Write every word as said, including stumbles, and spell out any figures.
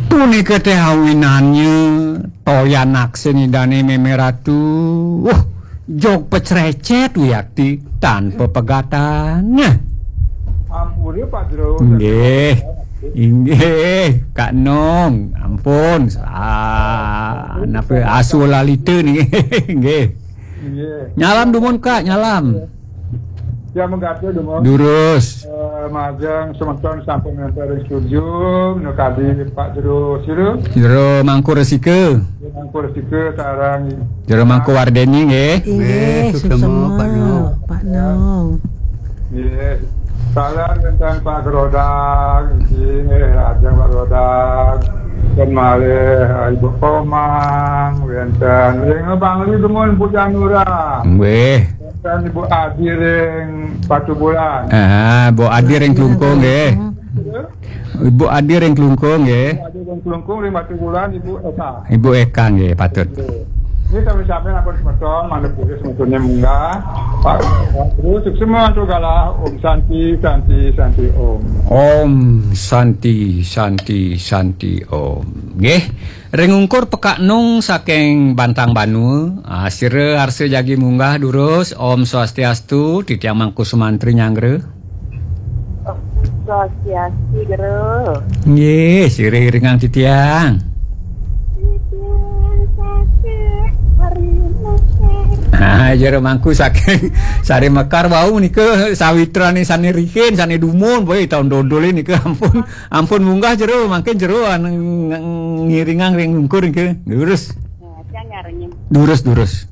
Punika teh awinannya toyan aksin Idane Meme Ratu. Wah, jog pecrecet wiakti tanpa pegatan. Nah. Ampura, Pak Jero. Inggih. Inggih, Kak Nong. Ampun, salah. Napa asu lalita niki? Nggih. Inggih. Nyalam dumun, Kak, nyalam. Ya, mengkata dumun. Durus. Eh, majeng semeton sampun ngantar ring studio, menika kadi Pak Jero sira. Jero Mangku Resika. Jero Mangku Resika sareng Jero Mangku Wardeni nggih. Inggih, nggih, suksema, suksema, Pak Nong. Pak Nong. Nggih. Salam wenten Pak Gerodak, nggih, ajeng Pak Gerodak. Dan malih Ibu Komang, wenten ring Bangli dumun Bu Janura. Nggih. Wenten Ibu Adi ring Batubulan. Ah, Bu Adi ring Klungkung nggih. Ibu Adi ring Klungkung nggih. Ibu Adi ring Klungkung, ring Batubulan, Ibu Eka. Ibu Eka nggih, patut. Nggih. Ini kami sampaikan apa semeton, mana boleh semetonnya munggah. Pak, terus semua tu galah. Om Santi, Santi, Santi, Om. Om Santi, Santi, Santi, Om. Nggih. Ring ungkur Pekak Nung saking Bantang Banua, ah, sira arsa jagi munggah durus. Om Swastiastu, titiang Mangku Sumantri nyanggra. Swastiastu, Jero. Nggih, sira iringang titiang. Titiang sakit hari mesir. Ah, Jero Mangku saking Sari Mekar wau nika sawitrane sane rihin, sane dumun, boy, taun dodol nika ampun, ampun munggah Jero, mangkin Jero an-, ng-, ngiringang ring ungkur nika. Durus. Nah, saya nyarinya. Durus, durus.